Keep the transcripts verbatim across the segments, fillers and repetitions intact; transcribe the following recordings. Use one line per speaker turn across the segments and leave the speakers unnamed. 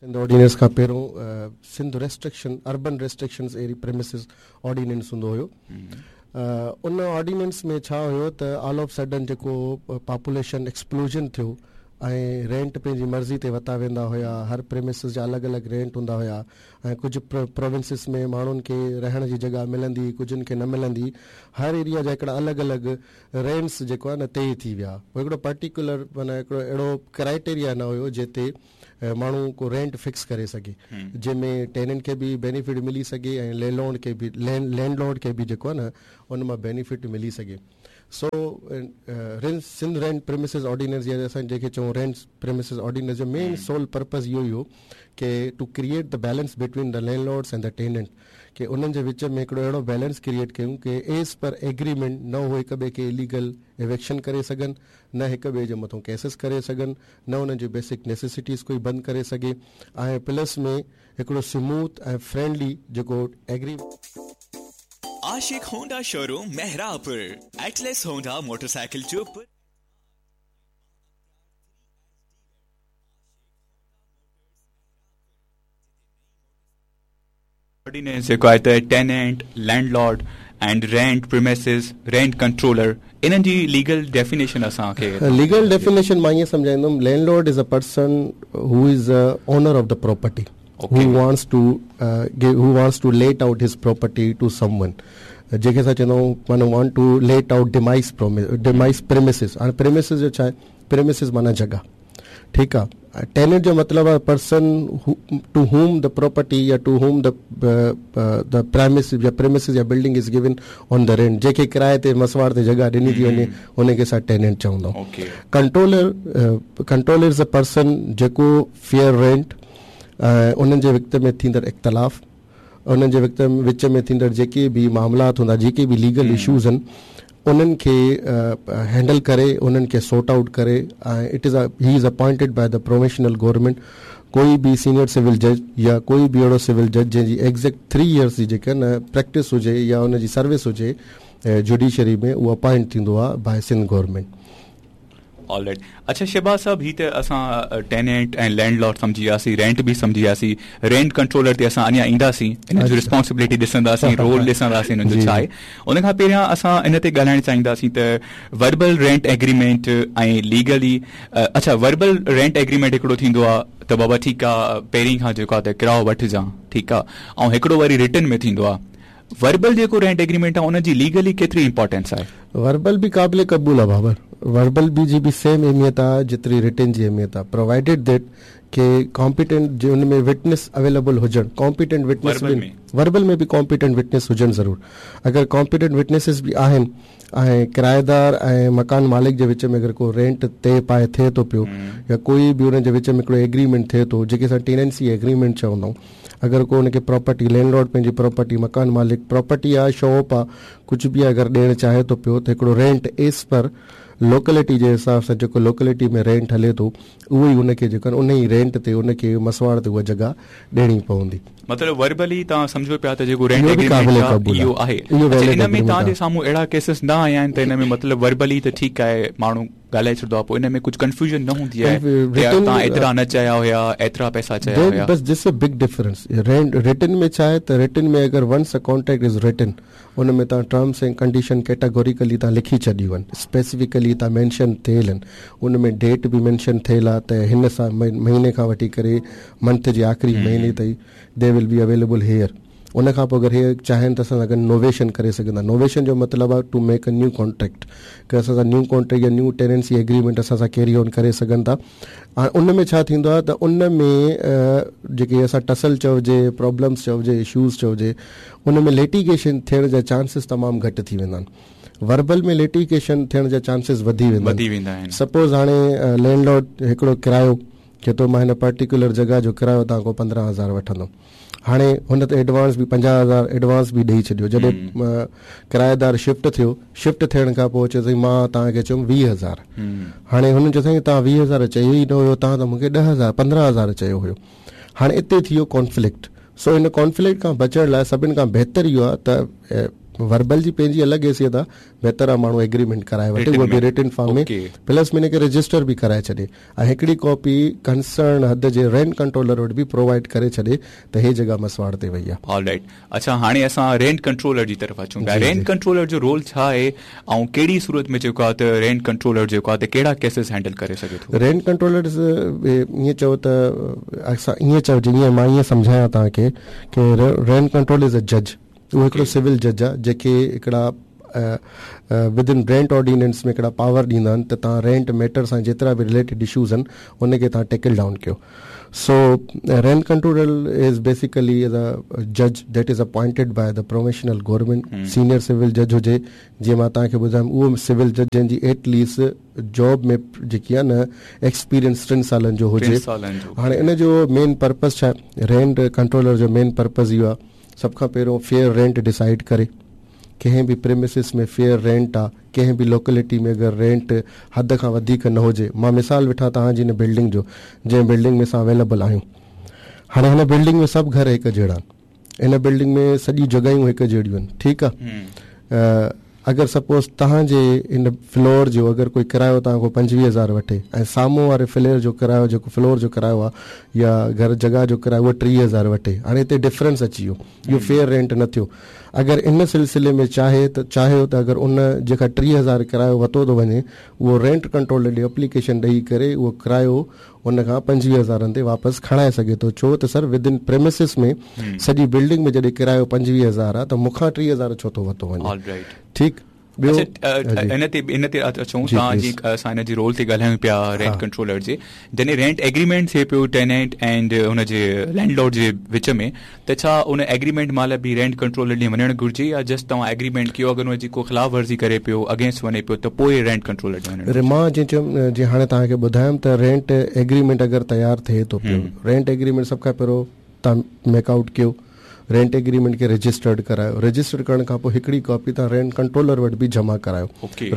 Sindh ordinance کان پهريون Sindh restriction urban restrictions area premises ordinance هوندو هيو. ان آرڊيننس ۾ ڇا هيو ته آل آف سڊن جيڪو پاپوليشن ايڪسپلوجن ٿيو ۽ رينٽ پنهنجي مرضي تي وتا ويندا هيا، هر پريمسز جا الڳ الڳ رينٽ هوندا هيا ۽ ڪجهه پروونسز ۾ ماڻهن کي رهڻ جي جڳهه ملندي، ڪجهن کي نه ملندي. هر ايريا جا هڪڙا الڳ الڳ رينٽس جيڪو آهي نه طئي ٿي ويا. هڪڙو پرٽيڪولر معنيٰ هڪڙو اهڙو ڪرائيٽيريا نه هيو جنهن تي ماڻهو ڪو رينٽ فڪس ڪري سگهي، جنهن ۾ ٽيننٽ کي به بينيفٽ ملي سگهي ۽ لينڊ لارڊ کي به لينڊ لارڊ کي به جيڪو آهي نه ان مان بينيفٽ ملي سگهي. سو سنڌ رينٽ پريمسز آرڊيننس يا اسان جنهن کي چئون رينٽ پريمسز آرڊيننس جو مين سول پرپز اهو ئي هو ڪي to create the balance between the landlords and the tenant, ڪي انهن جي وچ ۾ هڪڙو اهڙو بيلنس ڪريئيٽ ڪيون ڪي ايز پر ايگريمينٽ نه هو هڪ ٻئي کي اليگل ايوڪشن ڪري سگهن، نه هڪ ٻئي جي مٿون ڪيسز ڪري سگهن، نه انهن جي بيسڪ نيسيسٽيز ڪوئي بند ڪري سگهي ۽ پلس ۾ هڪڙو سموٿ ۽ فرينڊلي جيڪو agree.
Ashiq Honda showroom Mehrabpur, Atlas Honda motorcycle جو پر.
آرڊيننس جيڪو آهي ته tenant, landlord and rent premises, rent controller انهن جي ليگل ڊيفينيشن اسان کي.
ليگل ڊيفينيشن مان ائين سمجهائيندم، landlord is a person who is a owner of the property, who wants to who wants to let out his property to someone, جنهن کي اسان چوندا آهيون معنيٰ want to let out demise demise premises. هاڻي premises جو ڇا آهي؟ پريمسز معنيٰ جڳهه، ٺيڪ آهي. ٽيننٽ جو مطلب آهي person to whom the property يا to whom the the premise يا پريمسز يا building is given on the rent, جنهن کي ڪرائي تي مسواڙ تي جڳهه ڏني ٿي وڃي ان کي اسان ٽيننٽ چوندا آهيون. Controller controller is a person جيڪو فيئر رينٽ ۽ انهن جي وقت ۾ ٿيندڙ اختلاف، انهن جي وقت وچ ۾ ٿيندڙ جيڪي به معاملات هوندا، جيڪي به ليگل اشوز آهن انهن کي هينڊل ڪري، انهن کي سورٽ آئوٽ ڪري ۽ it is he is appointed by the provisional government. ڪوئي به سينيئر سول جج يا ڪوئي به اهڙو سول جج جنهن جي ايگزيڪٽ ٿري ايئرس جي جيڪا نه پريڪٽس هجي يا ان جي سروس هجي جوڊيشري ۾ اهو اپائنٽ ٿيندو آهي باء سنڌ گورنمينٽ.
آل رائٽ. اڇا شهباز صاحب، هي ته اسان ٽيننٽ ۽ لينڊ لارڊ سمجهي وياسين، رينٽ به سمجهي وياسين، رينٽ ڪنٽرولر تي اسان اڃا اينداسين، ان جو ريسپانسبلٽي ڏسنداسين، رول ڏسنداسين ان جو ڇا آهي. ان کان پهريان اسان ان تي ڳالهائڻ چاهينداسين ته وربل رينٽ ايگريمينٽ ۽ ليگلي، اڇا وربل رينٽ ايگريمينٽ هڪڙو ٿيندو آهي ته بابا ٺيڪ آهي پهرين کان جيڪو آهي ته ڪرايو وٺجان، ٺيڪ آهي، ۽ هڪڙو وري رٽن ۾ ٿيندو آهي. وربل جيڪو رينٽ ايگريمينٽ آهي ان جي ليگلي ڪيتري امپارٽنس آهي؟
وربل به قابل قبول آهي بابر، وربل به جي به سيم اهميت آهي جيتري رٽن جي اهميت آهي، پرووائيڊيڊ that ڪي ڪامپيٽنٽ جي ان ۾ وٽنس اويليبل هجڻ، ڪامپيٽنٽ وٽنس به وربل ۾ به ڪامپيٽنٽ وٽنس هجڻ ضرور، اگر ڪامپيٽنٽ وٽنسز به آهن ۽ ڪرائيدار ۽ مڪان مالڪ جي وچ ۾ اگر ڪو رينٽ طئي پائي ٿئي ٿو پيو يا ڪوئي به انهن جي وچ ۾ هڪڙو ايگريمينٽ ٿئي ٿو جيڪي اسان ٽيننسي ايگريمينٽ چوندا آهيون، اگر ڪو ان کي پراپرٽي لينڊ لارڊ پنهنجي پراپرٽي مڪان مالڪ پراپرٽي آهي شاپ آهي ڪجهه به اگر ڏيڻ چاهي ٿو پيو ته هڪڙو رينٽ ايز پر لوڪلٽي جي حساب سان جيڪو لوڪلٽي ۾ رينٽ هلي ٿو اهو ئي ان کي جيڪو آهي ان ئي رينٽ تي ان کي مسواڙ تي اها جڳهه ڏيڻي پوندي.
مطلب وربلي توهان سمجهو پيا ته جيڪو رينٽ ايگريمينٽ آهي اهو آهي. اڇا ان ۾ توهان جي سامهون اهڙا ڪيسز نه آيا آهن ته ان ۾ مطلب وربلي ته ٺيڪ آهي ماڻهو ڳالهائي ڇڏندو آهي پوء ان ۾ ڪجهه ڪنفيوزن نه هوندي آهي ته يار توهان ايترا نه چيا هيا ايترا پئسا چيا هيا.
بس this a big difference rent written ۾ ڇا آهي ته رٽن ۾ اگر once a contract is written ان ۾ توهان ٽرمس ۽ ڪنڊيشن ڪيٽاگوريڪلي توهان لکي ڇڏيون آهن اسپيسفڪلي توهان مينشن ٿيل آهن ان ۾ ڊيٽ به مينشن ٿيل آهي ته هن سان مهيني کان وٺي ڪري منٿ جي آخري مهيني تائين they will be available here ان کان پوء اگر هي چاهين ته اسان سان گڏ نوويشن ڪري سگهن ٿا نوويشن جو مطلب آهي to make a new contract ڪي اسان سان نيو ڪانٽريڪٽ يا نيو ٽيننسي ايگريمينٽ اسان سان ڪيري آن ڪري سگهن ٿا هاڻي ان ۾ ڇا ٿيندو آهي ته ان ۾ جيڪي اسان ٽسل چئجي پرابلمس چئجي اشوز چئجي ان ۾ ليٽيگيشن ٿيڻ جا چانسز تمام گهٽ ٿي ويندا آهن وربل ۾ ليٽيگيشن ٿيڻ جا چانسز وڌي
ويندا آهن
سپوز هاڻي لينڊ لارڊ هڪڙو ڪرايو چئي ٿو مان هن پرٽيڪولر جڳهه جو ڪرايو توهان کان پندرهن هزار وٺندم هاڻي هن ته ايڊوانس به پنجاهه هزار ايڊوانس به ڏئي ڇڏيو جڏهن ڪرائيدار شفٽ ٿيو شفٽ ٿيڻ کان پوء چيو سائين مان توهان کي چيم ويهه هزار هاڻي هن چيو سائين توهان ويهه هزار چيو ئي نه هيو توهان ته مون کي ڏهه هزار پندرهن هزار چيو هيو هاڻي اتي ٿي ويو ڪانفلڪٽ سو ان ڪانفلڪٽ کان بچڻ لاء سڀن کان بهتر اهو آهي ته وربل جي پنهنجي الڳ حيثيت آهي، بهتر آهي ماڻهو ايگريمينٽ ڪرائي وٺي، اهو به رٽن فارم ۾، پلس ۾ هن کي رجسٽر به ڪرائي ڇڏي ۽ هڪڙي ڪاپي ڪنسرن حد جي رينٽ ڪنٽرولر وٽ به پرووائيڊ ڪري ڇڏي ته هي جڳهه مسواڙ تي وئي آهي.
آل رائيٽ، اڇا هاڻي اسان رينٽ ڪنٽرولر جي طرف اچون پيا. رينٽ ڪنٽرولر جو رول ڇا آهي ۽ ڪهڙي صورت ۾ جيڪو آهي ته رينٽ ڪنٽرولر جيڪو آهي ته ڪهڙا ڪيسز هينڊل ڪري سگهي ٿو؟
رينٽ ڪنٽرولر ائين چئو ته اسان ائين چئو جيئن مان ائين سمجهايان توهان کي ڪه رينٽ ڪنٽرول از ا جج، اهو هڪڙو سول جج آهي جيڪي هڪڙا ود ان رينٽ آرڊيننس ۾ هڪڙا پاور ڏيندا آهن ته توهان رينٽ ميٽر سان جيترا به رليٽيڊ اشوز آهن ان کي توهان ٽيڪل ڊائون ڪيو. So rent controller is basically is a جج that is appointed by the provincial government, senior civil جج هجي جيئن مان توهان کي ٻڌايم اهو سول جج جنهن جي ايٽ ليسٽ جاب ۾ جيڪي آهي نه ايڪسپيرينس ٽن سالن جو هجي. هاڻي ان جو مين پرپز ڇا آهي؟ رينٽ ڪنٽرولر جو مين پرپز اهو آهي سڀ کان پهريون فيئر رينٽ ڊسائيڊ ڪري، ڪنهن به پريمسز ۾ فيئر رينٽ آهي، ڪنهن به لوڪلٽي ۾ اگر رينٽ حد کان وڌيڪ نه هجي. مان مثال وٺان توهان جي هن بلڊنگ جو، جنهن بلڊنگ ۾ اسان اويليبل آهيون. هاڻي هن بلڊنگ ۾ سڀ گهر هڪ جهڙا آهن، هن بلڊنگ ۾ سڄي جڳهيون هڪ جهڙيون آهن، ٺيڪ آهي. اگر سپوز توهان جي هن فلور جو اگر ڪوئي ڪرايو توهان کان پنجويهه هزار وٺي ۽ سامهون واري فليئر جو ڪرايو جيڪو فلور جو ڪرايو آهي يا گهر جڳهه جو ڪرايو اهو ٽيهه هزار وٺي، هاڻي هتي ڊفرنس اچي ويو، اهو فيئر رينٽ نه ٿيو. اگر ان سلسلي ۾ چاهي ته چاهيو ته اگر ان جيڪا ٽيهه هزار ڪرايو ورتو ٿو وڃي اهو رينٽ ڪنٽرول ڏي اپليڪيشن ڏيئي ڪري اهو ڪرايو ان کان پنجويهه هزارن تي واپس کڻائي سگهي ٿو، ڇو ته سر ود ان پريمسز ۾ سڄي بلڊنگ ۾ جڏهن ڪرايو پنجويهه هزار آهي ته مون کان ٽيهه هزار ڇو ٿو ورتو وڃي؟ ٺيڪ، ٻيو
ان تي ان تي اچون توهان جي اسان ان جي رول تي ڳالهايون پيا رينٽ ڪنٽرولر جي، جڏهن رينٽ ايگريمينٽ ٿئي پيو ٽيننٽ اينڊ هن جي لينڊ لارڊ جي وچ ۾ ته ڇا ان ايگريمينٽ مهل به رينٽ ڪنٽرولر ڏي وڃڻ گهرجي يا جسٽ توهان ايگريمينٽ ڪيو اگر هن جي ڪو خلاف ورزي ڪري پيو اگينسٽ وڃي پيو ته پوءِ رينٽ ڪنٽرولر ڏي وڃڻ گهرجي؟
مان جيئن چيم جيئن هاڻي توهان کي ٻڌايم ته رينٽ ايگريمينٽ اگر تيار ٿئي ٿو پيو، رينٽ ايگريمينٽ سڀ کان پهريون توهان ميڪ آئوٽ ڪيو، رينٽ ايگريمينٽ کي رجسٽرڊ ڪرايو، رجسٽر ڪرڻ کان پوءِ هڪڙي ڪاپي توهان رينٽ ڪنٽرولر وٽ به جمع ڪرايو.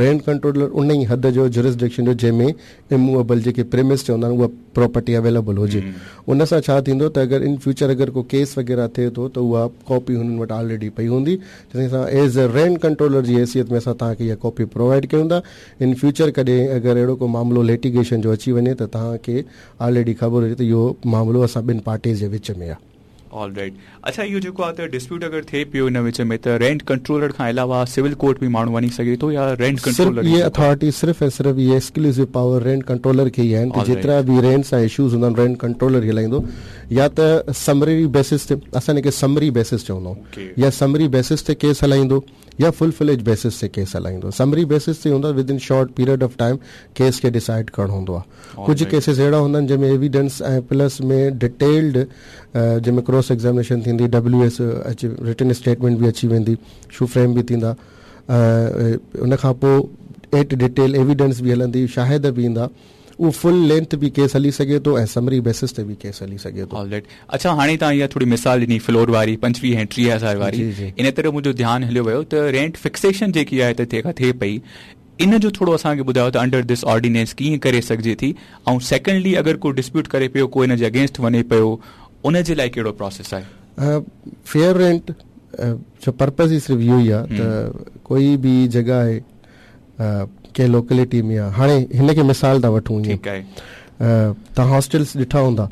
رينٽ ڪنٽرولر ان ئي حد جو جرسڊڪشن جو جنهن ۾ اموويبل جيڪي پريمس چوندا آهن اها پراپرٽي اويليبل هجي. ان سان ڇا ٿيندو ته اگر ان فيوچر اگر ڪو ڪيس وغيره ٿئي ٿو ته اها ڪاپي هنن وٽ آلريڊي پئي هوندي، جنهن سان ايز اي رينٽ ڪنٽرولر جي حيثيت ۾ اسان توهان کي اها ڪاپي پرووائيڊ ڪيون ٿا. ان فيوچر ڪڏهن اگر اهڙو ڪو معاملو لٽيگيشن جو اچي وڃي ته توهان کي آلريڊي خبر هجي ته اهو معاملو اسان ٻن پارٽيز جي وچ ۾ آهي.
آل رائيٽ، اڇا اهو جيڪو آهي ته ڊسپيوٽ اگر ٿئي پيو ان وچ ۾ ته رينٽ ڪنٽرولر کان علاوه سول ڪورٽ به ماڻهو وڃي سگهي ٿو يا رينٽ ڪنٽرولر؟
اها اٿارٽي صرف ۽ صرف اها ايڪسڪلوسو پاور رينٽ ڪنٽرولر کي ئي آهن ته جيترا به رينٽ سان اشوز هوندا آهن رينٽ ڪنٽرولر ئي هلائيندو، يا ته سمري بيسس تي، اسان هن کي سمري بيسس چوندا آهيون، يا سمري بيسس تي ڪيس هلائيندو يا فل فليج بيسس تي ڪيس هلائيندو. سمري بيسس تي هوندو آهي within short period of time case کي ڊسائيڊ ڪرڻو هوندو آهي. ڪجهه ڪيسز اهڙا هوندا آهن جنهن ۾ ايويڊنس ۽ پلس ۾ ڊٽيلڊ جنهن ۾ ڪراس ايگزامينيشن ٿيندي، ڊبليو ايس اچي رٽن اسٽيٽمينٽ به اچي ويندي، شو فريم به ٿيندا، ان کان پوءِ ايٽ ڊٽيل ايويڊنس به هلندي، شاهد به ايندا، اهو فل لينٿ به ڪيس هلي سگهي ٿو ۽ سمري بيسس تي به ڪيس هلي سگهي ٿو.
آل رائيٽ، اڇا هاڻي توهان اها ٿوري مثال ڏني فلور واري پنجويهه ۽ ٽيهه هزار واري، ان طرح منهنجو ڌيان هليو ويو ته رينٽ فڪسيشن جيڪي آهي ته جيڪا ٿئي پئي ان جو ٿورو اسان کي ٻڌايو ته انڊر this ordinance ڪيئن ڪري سگهجي ٿي ۽ سيڪنڊلي اگر ڪو ڊسپيوٽ ڪري پيو ڪو ان جي اگينسٽ وڃي پيو ان جي لاءِ ڪهڙو پروسيس آهي؟
فيئر رينٽ جو پرپز ئي صرف اهو ئي آهي ته ڪوئي به جڳهه آهي ڪنهن لوڪلٽي ۾ آهي، هاڻي هن کي مثال ٿا وٺون،
ٺيڪ آهي،
توهان هاسٽلس ڏٺا هوندا،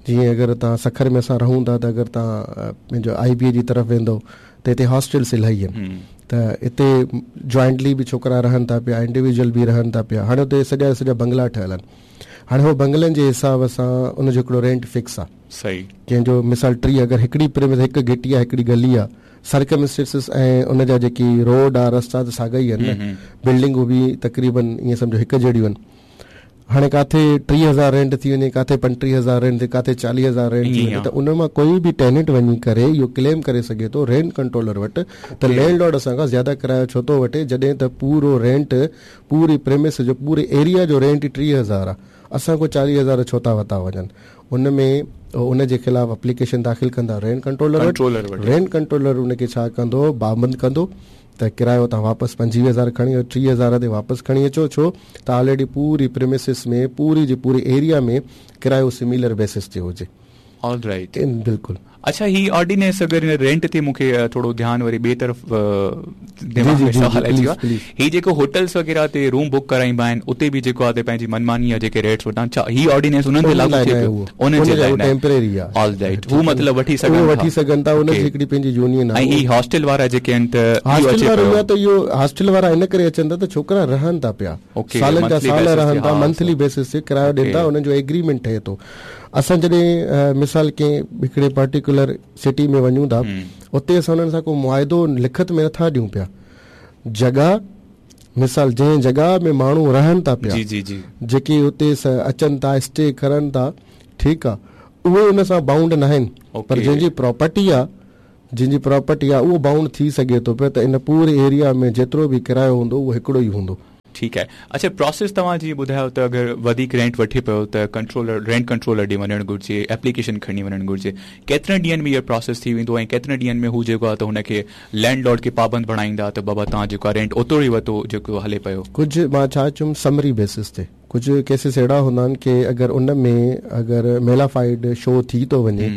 جيئن اگر توهان سکر ۾ اسان رهون ٿا ته اگر توهان پنهنجو آئي بي اي جي طرف ويندو ته هتي هاسٽلس الاهي آهن، ته هتي جوائنٽلي به ڇوڪرا رهن ٿا پيا، انڊيويجوئل به رهن ٿا پيا. هاڻي هتي سڄا سڄا بنگلا ٺهيل آهن، هاڻي هو بنگلن جي حساب سان ان جو هڪڙو رينٽ فڪس آهي.
صحيح،
ڪنهن جو مثال ٽيهه اگر هڪڙي پريمس هڪ گهٽي آهي هڪڙي گلي آهي، سرڪمسٽنسز ۽ ان جا جيڪي روڊ آهي رستا ته ساڳا ئي آهن نه، بلڊنگون به تقريبن ائين سمجهو هڪ جهڙيون آهن. هاڻي ڪاٿي ٽيهه هزار رينٽ ٿي وڃي، ڪاٿي پنٽيهه هزار رينٽ ٿي، ڪاٿي چاليهه هزار رينٽ ٿي وڃي، ته ان مان ڪوئي به ٽيننٽ وڃي ڪري اهو ڪليم ڪري سگهي ٿو رينٽ ڪنٽرولر وٽ ته لينڊ لارڊ اسان کان زياده ڪرايو ڇو ٿو وٺي، جڏهن ته پورو رينٽ پوري پريمس جو پوري ايريا جو رينٽ ئي ٽيهه هزار آهي، اسان کان چاليهه هزار ڇو ٿا ورتا وڃن؟ ان ۾ ان جي خلاف اپليڪيشن داخل ڪندا رينٽ ڪنٽرولر وٽ، رينٽ ڪنٽرولر ان کي ڇا ڪندو، پابند ڪندو ته ڪرايو توهان واپس پنجويهه هزار کڻي ٽيهه هزار تي واپس کڻي اچو، ڇو ته آلريڊي پوري پريمسز ۾ پوري جي پوري ايريا ۾ ڪرايو سميلر بيسس تي هجي.
آل رائيٽ،
بلڪل.
अच्छा, ही ऑर्डिनेंस अगरि हिन रेंट ते मूंखे थोरो ध्यानु वरी ॿिए तरफ़ दिमाग़ में सवाल अची वियो आहे। ही जेको होटल्स वग़ैरह ते रूम बुक कराईंदा आहिनि उते बि जेको आहे पंहिंजी मनमानी जा जेके रेट्स वठंदा आहिनि, छा ही ऑर्डिनेंस उन्हनि ते लागू थिए पियो? उन्हनि जे लाइ
टेम्परेरी आहे।
ऑल राइट, हू मतिलबु वठी सघनि
वठी सघनि था, उन्हनि जी हिकिड़ी पंहिंजी यूनियन
आहे। ऐं ही हॉस्टल वारा जेके आहिनि त
हॉस्टल वारा त इहो हॉस्टल वारा इन करे अचनि था त छोकिरा रहनि था पिया, सालनि जा साल रहनि था, मंथली बेसिस ते किरायो ॾियनि था, उन्हनि जो एग्रीमेंट ठहे थो। असां जॾहिं मिसाल कंहिं हिकिड़े पर्टिकुलर सिटी में वञूं था उते असां उन्हनि सां को मुआहिदो लिखत में नथा ॾियूं पिया। जॻह मिसाल जंहिं जॻह में माण्हू रहनि था पिया,
जी जी जी,
जेके उते अचनि था स्टे करनि था, ठीकु आहे, उहे उन सां बाउंड न आहिनि, पर जंहिंजी प्रॉपर्टी आहे जंहिंजी प्रॉपर्टी आहे उहो बाउंड थी सघे थो पियो त इन पूरे एरिया में जेतिरो बि किरायो हूंदो उहो हिकिड़ो ई हूंदो।
ठीकु आहे। अच्छा, प्रोसेस तव्हां जीअं ॿुधायो त अगरि वधीक रेंट वठे पियो त कंट्रोलर रेंट कंट्रोलर ॾे वञणु घुरिजे, एप्लीकेशन खणी वञणु घुरिजे, केतिरनि ॾींहंनि में इहो प्रोसेस थी वेंदो ऐं केतिरनि ॾींहंनि में हू जेको आहे त हुनखे लैंड लॉर्ड खे पाबंद बणाईंदा त बाबा तव्हां जेको आहे रेंट ओतिरो ई वरितो जेको हले पियो?
कुझु मां छा चयुमि समरी बेसिस ते कुझु केसिस अहिड़ा हूंदा आहिनि की अगरि उन में अगरि मेलाफाइड शो थी थो वञे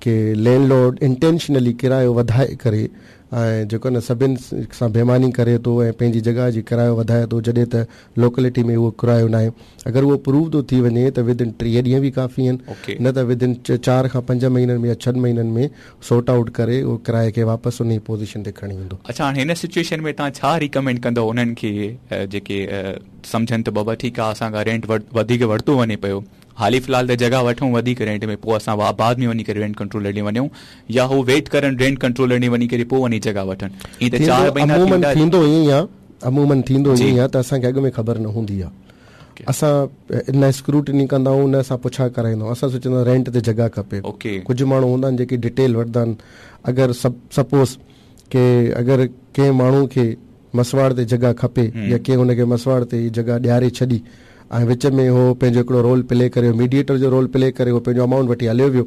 की लैंड लॉर्ड इंटेंशनली किरायो वधाए करे ऐं जेको न सभिनि सां बेमानी करे थो ऐं पंहिंजी जॻह जी किरायो वधाए थो, जॾहिं त लोकेलिटी में उहो किरायो न आहे, अगरि उहो प्रूव थो थी वञे त विद इन टीह ॾींहं बि काफ़ी आहिनि, न त विद इन चारि खां पंज महीननि में या छहनि महीननि में सॉर्ट आउट करे उहो किराए खे वापसि उन पोज़ीशन ते खणी ईंदो।
अच्छा, हाणे हिन सिचुएशन में तव्हां छा रिकमेंड कंदव उन्हनि खे जेके सम्झनि त बाबा ठीकु आहे असां खां रेंट वधीक वरितो वञे पियो, हाली फ़िलहाल त जॻह वठूं वधीक रेंट में, पोइ असां बाद में वञी करे रेंट कंट्रोलर ॾे वञूं, या हू वेट करनि रेंट कंट्रोलर ॾे वञी करे पोइ वञी जॻह वठनि? ईअं त चारि महीना
अमूमन थींदो ईअं ई आहे, अमूमन थींदो ईअं ई आहे त असांखे अॻु में ख़बर न हूंदी आहे, असां न स्क्रूटनी कंदा आहियूं न असां पुछा कराईंदा आहियूं, असां सोचंदा रेंट ते जॻह खपे। कुझु माण्हू हूंदा आहिनि जेके डिटेल वठंदा आहिनि, अगरि सपोज़ के अगरि कंहिं माण्हू खे मसवाड़ ते जॻह खपे या कंहिं हुनखे मसवाड़ ते जॻह ॾियारे छॾी ऐं विच में हो पंहिंजो हिकिड़ो रोल प्ले करे, मीडिएटर जो रोल प्ले करे उहो पंहिंजो अमाउंट वठी हलियो वियो।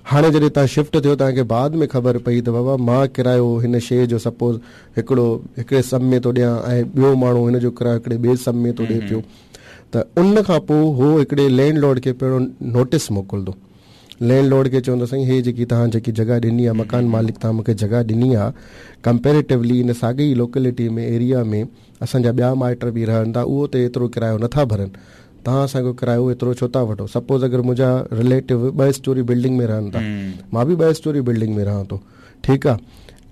हाणे जॾहिं तव्हां शिफ्ट थियो तव्हांखे बाद में ख़बर पई त बाबा मां किरायो हिन शइ जो सपोज़ हिकिड़ो हिकिड़े सम में थो ॾियां ऐं ॿियो माण्हू हिन जो किरायो हिकिड़े ॿिए सम में थो ॾिए पियो, त उन खां पोइ हो हिकिड़े लैंड लॉर्ड खे पहिरियों नोटिस मोकिलिंदो, लैंड लॉर्ड खे चवंदो साईं हे जेकी तव्हां जेकी जॻह ॾिनी आहे, मकान मालिक तव्हां मूंखे जॻह ॾिनी आहे, कंपेरेटिवली इन साॻी लोकेलिटी में एरिया में असांजा ॿिया माइट बि रहनि था, उहो त एतिरो किरायो नथा भरनि, तव्हां असांजो किरायो एतिरो छो था वठो? सपोज़ अगरि मुंहिंजा रिलेटिव ॿ स्टोरी बिल्डिंग में रहनि था, मां बि ॿ स्टोरी बिल्डिंग में रहां थो, ठीकु आहे,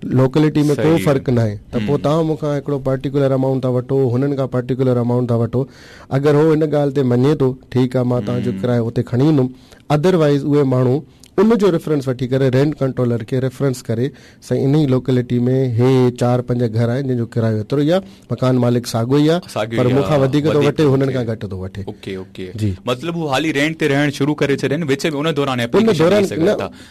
लोकेलिटी में को फ़र्क़ु न आहे, त पोइ तव्हां मूंखां हिकिड़ो पर्टिकुलर अमाउंट था वठो, हुननि खां पर्टिकुलर अमाउंट था वठो, अगरि हो हिन ॻाल्हि ते मञे थो ठीकु आहे मां तव्हांजो किरायो उते खणी ईंदुमि, अदरवाइज़ उहे माण्हू उन जो रेफरेंस वठी करे रेंट कंट्रोलर खे रेफरेंस करे साईं इन ई लोकेलिटी में हे चारि पंज घर आहिनि जंहिंजो किरायो एतिरो ई आहे, मकान मालिक साॻियो ई आहे पर मूंखां वधीक थो वठे हुननि खां घटि थो वठे।
ओके ओके जी, मतिलबु हू हाली रेंट ते रहणु शुरू करे छॾनि, विच में उन दौरान
उन दौरान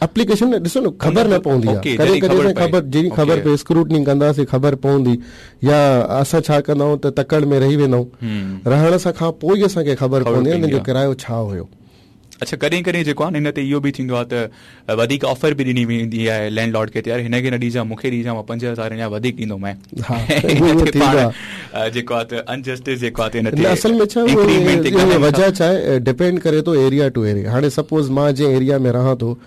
एप्लीकेशन ॾिसो न ख़बर न पवंदी आहे, कॾहिं कॾहिं ख़बर जॾहिं ख़बर पए स्क्रूटनी कंदासीं ख़बर पवंदी, या असां छा कंदा आहियूं त तकड़ में रही वेंदा आहियूं, रहण सां खां पोइ असांखे ख़बर पवंदी आहे हुननि जो किरायो छा हुयो।
अच्छा, कॾहिं कॾहिं जेको आहे हिन ते इहो बि थींदो आहे त वधीक ऑफर बि ॾिनी वेंदी आहे लैंड लॉर्ड खे त यार हिनखे न ॾिजांइ मूंखे ॾिजांइ, मां पंज हज़ार अञा वधीक ॾींदोमांइ, जेको आहे त अनजस्टिस जेको आहे हिन ते
असल में छा वजह छा आहे, डिपेंड करे थो एरिया टू एरिया। हाणे सपोज़ मां जंहिं एरिया में रहां थो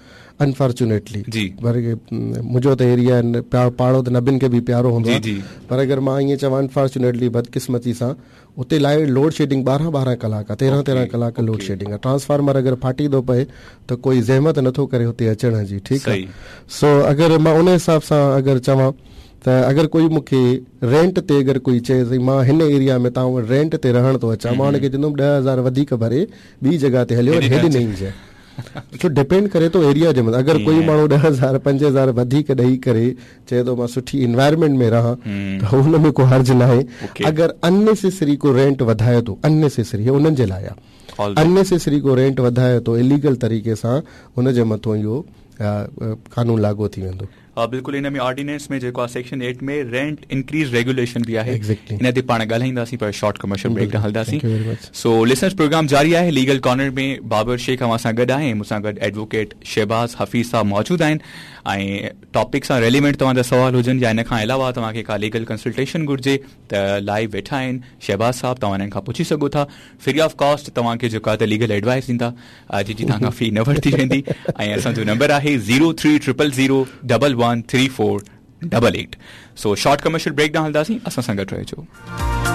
अनफॉर्चुनेटली
जी,
पर मुंहिंजो त एरिया पाड़ो त नबिन खे बि प्यारो हूंदो आहे, पर अगरि मां ईअं चवां अनफॉर्चुनेटली बदकिस्मती सां उते लाइट लोड शेडिंग ॿारहं ॿारहं कलाक आहे, तेरहं तेरहं कलाक लोड शेडिंग आहे, ट्रांसफार्मर अगरि फाटी थो पए त कोई ज़हमत नथो करे हुते अचण जी, ठीकु आहे। सो अगरि मां उन हिसाब सां अगरि चवां त अगरि कोई मूंखे रेंट ते अगरि कोई चए साईं मां हिन एरिया में तव्हां वटि रेंट ते रहण थो अचां, मां हुनखे चवंदुमि ॾह हज़ार वधीक भरे ॿी जॻह ते हलियो हेॾे न ईंजांइ। छो डिपेंड करे थो एरिया जे मथां, अगरि कोई माण्हू ॾह हज़ार पंज हज़ार वधीक ॾेई करे चए थो मां सुठी इन्वायरमेंट में रहां त हुन में को हर्ज न आहे। अगरि अननेसेसरी को रेंट वधाए थो, अननेसेसरी उन्हनि जे लाइ आहे, अननेसेसरी को रेंट वधाए थो इलीगल तरीक़े सां, हुनजे मथां इहो कानून लागू थी वेंदो।
ها بلڪل ان ۾ آرڊيننس ۾ جيڪو آهي section eight ۾ rent increase regulation به آهي ان تي پاڻ ڳالهائينداسين پر شارٽ ڪمرشل بريڪ ڏانهن هلنداسين. سو لسنرز پروگرام جاري آهي ليگل ڪارنر ۾ بابر شيخ اوهان سان گڏ آهي ۽ مون سان گڏ ايڊووڪيٽ شهباز حفيظ صاحب موجود آهن ۽ ٽاپڪ سان ريليونٽ توهان جا سوال هجن يا ان کان علاوه توهان کي ڪا ليگل ڪنسلٽيشن گهرجي ته لائيو ويٺا آهن شهباز صاحب توهان انهن کان پڇي سگهو ٿا فري آف ڪاسٽ توهان کي جيڪو آهي ته ليگل ايڊوائس ڏيندا جنهن جي توهان کان في نه ورتي ويندي ۽ اسان جو نمبر آهي zero three triple zero double one three four double eight. So short commercial break ڏانهن هلنداسين اسان سان گڏ رهجو.